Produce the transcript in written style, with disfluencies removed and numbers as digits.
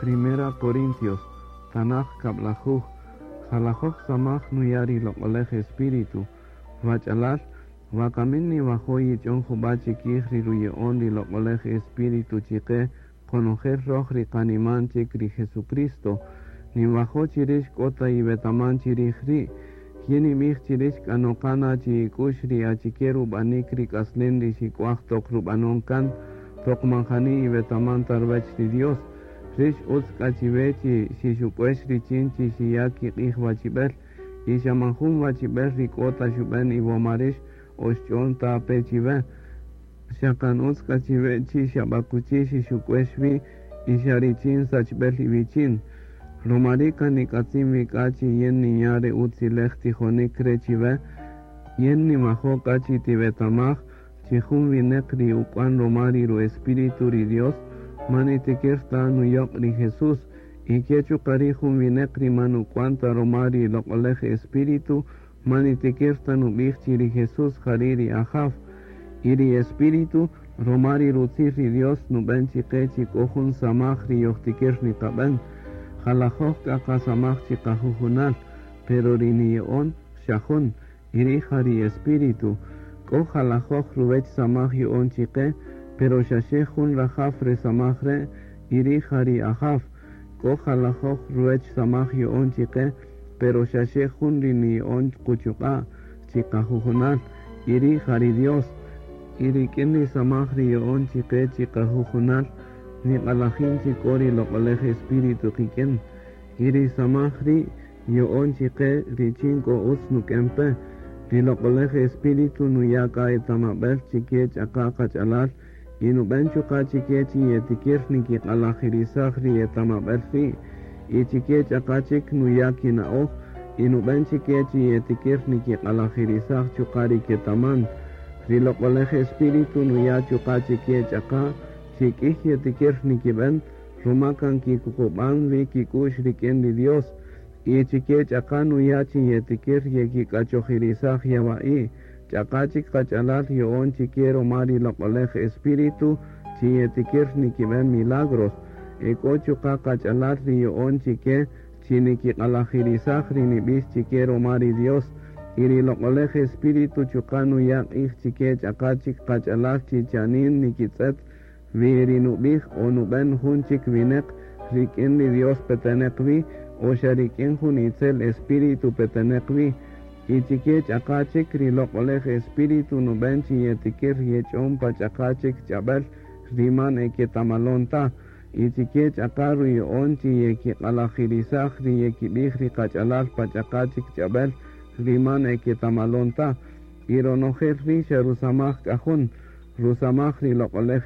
Primera Corintios, Tanaj kablajuj, jalajoj samaj nuya' ri Loq'olej Espíritu, wach'alal, wakamin niwajo' yich'on jub'a' chikij ri ruya'on ri Loq'olej Espíritu chiqe qonojel roj ri qaniman chik ri Jesucristo, ninwajo' chi rix k'o ta iwetaman chirij ri', yin ninb'ij chi rix k'a noqa na chi ik'u'x ri achike rub'anik ri k'aslen ri xik'uaj toq rub'anon kan, toq man jani iwetaman ta ruwäch ri Dios, rix utz k'a chiwe chi xixuk'uex richin chi xiya' kiq'ij wachib'el, y xa man jun wachib'el ri k'o ta xub'en iwoma rix o xch'on ta pe chiwe, xa kan utz k'a chiwe chi xab'akuchi xixuk'uex wi y xa richin sachb'el iwichin. Ruma ri' kan nik'atzin wi k'a chi yin ninya' re utzilej tijonik re chiwe, yin ninwajo' k'a chi tiwetamaj chi jun wineq ri uk'wan ruma ri ru-Espíritu ri Dios man nitikir ta nuyoq' ri Jesús, y ke chuqa' ri' jun wineq ri man uk'wan ta ruma ri Loq'olej Espíritu man nitikir ta nub'ij chi ri Jesús jari' ri Ajaw, y ri Espíritu ruma ri rutzij ri Dios nub'en chiqe chi k'o jun samaj ri yojtikir niqab'en, jalajoj k'a qasamaj chiqajujunal, pero ri niya'on xa jun, y ri' ja ri Espíritu, k'o jalajoj ruwech samaj ya'on chiqe, pero xaxe jun rajaw re samaj re', y ri' ja ri Ajaw, k'o jalajoj ruwech samaj ya'on chiqe, pero xaxe jun ri niya'on quchuq'a' chiqajujunal, y ri' ja ri Dios, y rik'in ri samaj ri ya'on chiqe chiqajujunal, niq'alajin chi k'o ri Loq'olej Espíritu qik'in, y ri samaj ri' ya'on chiqe richin k'o utz nuk'en pe, ri Loq'olej Espíritu nuya' k'a etamab'el chike ch'aqa qach'alal y nub'en chuqa' chike chi yetikir nikiq'alajirisaj ri etamab'el ri', y chike ch'aqa chik nuya' kina'oj y nub'en chike chi yetikir nikiq'alajirisaj chuqa' ri ketaman, ri Loq'olej Espíritu nuya' chuqa' chike ch'aqa chi k'ij yetikir nikib'en ruma kan kikuqub'an wi kik'u'x rik'in ri Dios, y chike ch'aqa nuya' chi yetikir yekik'achojirisaj yawa'i', ch'aqa chik qach'alal ya'on chike ruma ri Loq'olej Espíritu chi yetikir nikib'en milagros, e k'o chuqa' qach'alal ri ya'on chike chi nikiq'alajirisaj ri nib'ix chike ruma ri Dios, y ri Loq'olej Espíritu chuqa' nuya' q'ij chike ch'aqa chik qach'alal chi chanin nikitz'et wi ri nub'ij o nub'en jun chik wineq rik'in ri Dios peteneq wi o xa rik'in jun itzel espíritu peteneq wi, y chike ch'aqa chik ri Loq'olej Espíritu nub'en chi yetikir yech'on pa ch'aqa chik ch'ab'el ri man eketamalon ta, y chike ch'aqa ruya'on chi yekiq'alajirisaj ri yekib'ij ri qach'alal pa ch'aqa chik ch'ab'el ri man eketamalon ta, y ronojel ri' xa rusamaj k'a jun, rusamaj ri Loq'olej.